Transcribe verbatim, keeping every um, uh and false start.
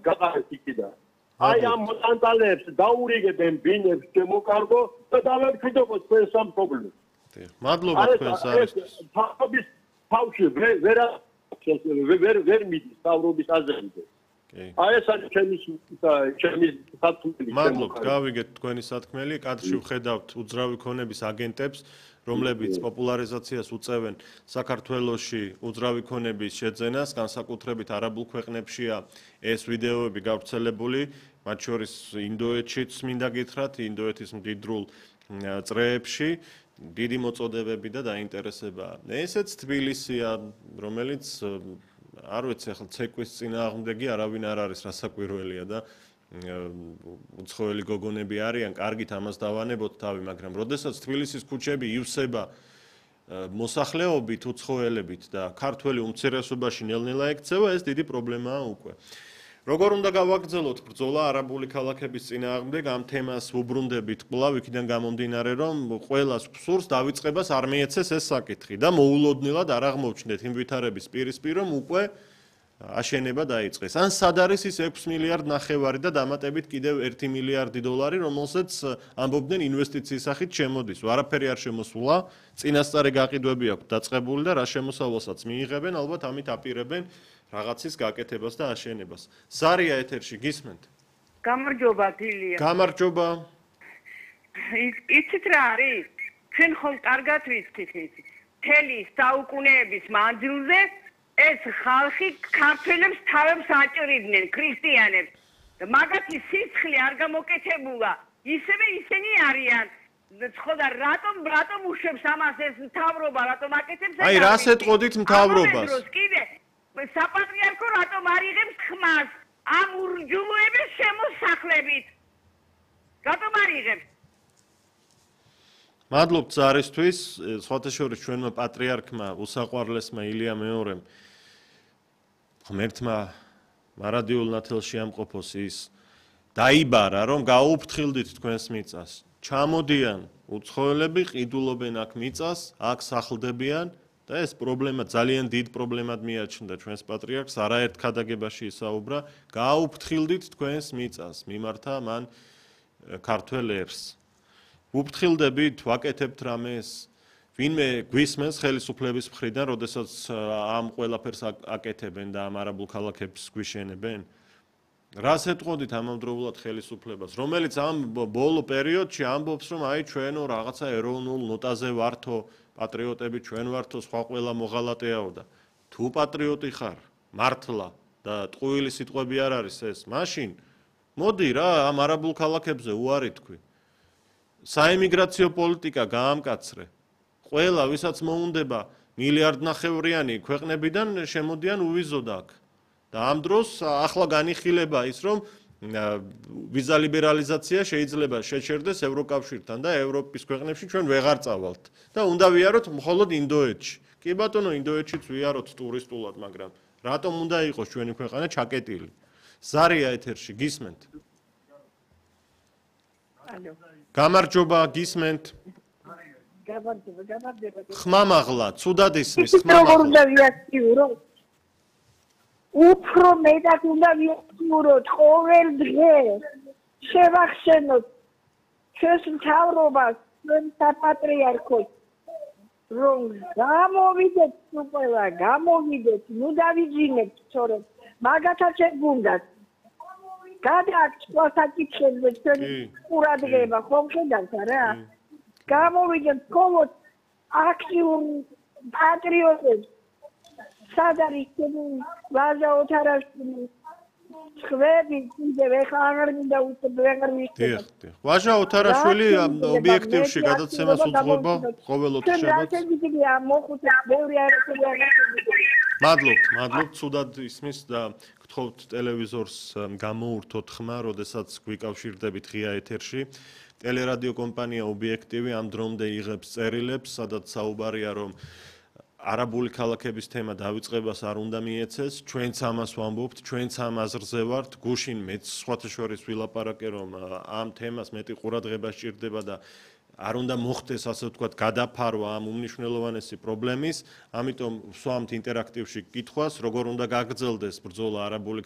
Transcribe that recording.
გაყარეთ იქიდან. აი ამ მოტანტალებს დაურიგებენ ბინებს შემოკარგო და დავერქიდობ თქვენ სამფლობელოს. მადლობა თქვენს არის. თავის თავში ვერ ვერ ვერ მიდის თავრობის აზრზე. აი ეს არის ჩემი ჩემი სათქმელი. მადლობთ, გავიგეთ თქვენი სათქმელი. კადრში ვხედავთ უძრავი ქონების აგენტებს, რომლებიც პოპულარიზაციას უწევენ საქართველოში უძრავი ქონების შეძენას, განსაკუთრებით არაბულ ქვეყნებშია ეს ვიდეოები გავრცელებული, მათ შორის ინდოეთშიც მინდა გითხრათ, ინდოეთის მდიდრულ წრეებში. დიდი მოწოდებები და დაინტერესება. ესეც თბილისია, რომელიც არ ვიცი, ახლა ცეკვის წინააღმდეგი არავინ არ არის რასაკვირველია და უცხოელი გოგონები არიან, კარგით ამას დავანებოთ თავი, მაგრამ როდესაც თბილისის ქუჩები ივსება მოსახლეობით, უცხოელებით და ქართველი უმცირესობაში ნელ-ნელა ექცევა, ეს დიდი პრობლემაა უკვე. როგორ უნდა გავაგრძელოთ ბრძოლა არაბული ქალაქების წინააღმდეგ, ამ თემას ვუბრუნდებით კვლავ იქიდან გამომდინარე, რომ ყველას გვსურს დავიწყებას არ მიეცეს ეს საკითხი და მოულოდნელად არ აღმოჩნდეთ იმ ვითარების პირისპირ, რომ უკვე აშენება დაიწყეს. ან სად არის ის ექვსი მილიარდ ნახევარი და დამატებით კიდევ ერთი მილიარდი დოლარი, რომელსაც ამბობდნენ ინვესტიციის სახით შემოდის. არაფერი არ შემოსულა, წინასწარი გაყიდვები აქვს დაწყებული და რა შემოსავალსაც მიიღებენ, ალბათ ამით აპირებენ რაღაცის გაკეთებას და აშენებას. ზარია ეთერში გისმენთ? გამარჯობა თილია. გამარჯობა. იცით რა არის? ჩვენ ხომ კარგად ვიცით ის. მთელი საუკუნეების მანძილზე ეს ხალხი ქართველებს თავებს აჭრიდნენ, ქრისტიანებს. მაგათი სიცხლე არ გამოკეთებულა. ისევე ისინი არიან. ხოდა რატომ რატომ უშვებს ამას ეს მთავრობა, რატომ აკეთებს ეს? აი რას ეტყოდით მთავრობას? საპატრიარქო რატომ არ იღებს ხმას ამ ურჯულოების შემოსახლებით? რატომ არ იღებს? მადლობთ ზარისთვის, სხვათა შორის ჩვენმა პატრიარქმა უსაყვარლესმა ილია მეორემ ღმერთმა მარადიულ ნათელში ამყოფოს ის დაიბარა, რომ გაუფრთხილდით თქვენს მიწას. ჩამოდიან უცხოელები, ყიდულობენ აქ მიწას, აქ სახლდებიან და ეს პრობლემა ძალიან დიდ პრობლემად მიაჩნდა ჩვენს პატრიარქს, არაერთ ქადაგებაში ისაუბრა, გაუფრთხილდით თქვენს მიწას, მიმართა მან ქართველ ერს. ვუფრთხილდებით, ვაკეთებთ რამეს, ვინმე გვისმენს ხელისუფლების მხრიდან, როდესაც ამ ყველაფერს აკეთებენ და ამ არაბულ ქალაქებს გვიშენებენ? რას ეტყოდით ამავდროულად ხელისუფლებას, რომელიც ამ ბოლო პერიოდში ამბობს, რომ აი ჩვენო რაღაცა ეროვნულ ნოტაზე ვართო, პატრიოტები ჩვენ ვართო, სხვა ყველა მოღალატეაო და თუ პატრიოტი ხარ, მართლა და ტყუილი სიტყვები არ არის ეს, მაშინ მოდი რა ამ არაბულ ქალაქებზე უარი თქვი. საიმიგრაციო პოლიტიკა გაამკაცრე. ყველა ვისაც მოუნდება მილიარდ ნახევრიანი ქვეყნებიდან შემოდიან უვიზოდ აქ. და ამ დროს ახლა განიხილება ის, რომ ვიზა ლიბერალიზაცია შეიძლება შეჩერდეს ევროკავშირთან და ევროპის ქვეყნებში ჩვენ ვეღარ წავალთ და უნდა ვიაროთ მხოლოდ ინდოეთში. კი ბატონო, ინდოეთშიც ვიაროთ ტურისტულად, მაგრამ რატომ უნდა იყოს ჩვენი ქვეყანა ჩაკეტილი? ზარია ეთერში გისმენთ? ალო. გამარჯობა, გისმენთ? გამარჯობა, გამარჯობა. ხმამაღლა, ცუდად ისმის ხმამაღლა. როგორ უნდა ვიაქტიურო? უფრო მეტად უნდა ვიაქტიუროთ ყოველ დღე. შევახსენოთ ჩვენს მთავრობას, ჩვენ საპატრიარქოს, რომ გამოვიდეთ ყველა, გამოვიდეთ, ნუ დავიძინეთ, სწორედ მაგათაც ეგუნდათ. გადააქვს სხვა საკითხებზე ჩვენი ყურადღება, ხომ ხედავთ რა? გამოვიდეთ მხოლოდ აქტიურ პატრიოტებს. სად არის ჩვენი ვაჟა ოთარაშვილი? ხვები, კიდევ ეხლა აღარ მინდა უცებ ვეღარ მიხდება. დიახ, დიახ. ვაჟა ოთარაშვილი ობიექტივში გადაცემას უძღვება ყოველ ოთხშაბათს. მადლობთ, მადლობთ, ცუდად ისმის და გთხოვთ ტელევიზორს გამოურთოთ ხმა, როდესაც გვიკავშირდებით ღია ეთერში. ტელერადიო კომპანია ობიექტივი ამ დრომდე იღებს წერილებს, სადაც საუბარია, რომ არაბული ქალაქების თემა დავიწყებას არ უნდა მიეცეს, ჩვენც ამას ვამბობთ, ჩვენც ამ აზრზე ვართ, გუშინ მეც სხვათა შორის ვილაპარაკე, რომ ამ თემას მეტი ყურადღება სჭირდება და არ უნდა მოხდეს, ასე ვთქვათ, გადაფარვა ამ უმნიშვნელოვანესი პრობლემის, ამიტომ ვსვამთ ინტერაქტივში კითხვას, როგორ უნდა გაგრძელდეს ბრძოლა არაბული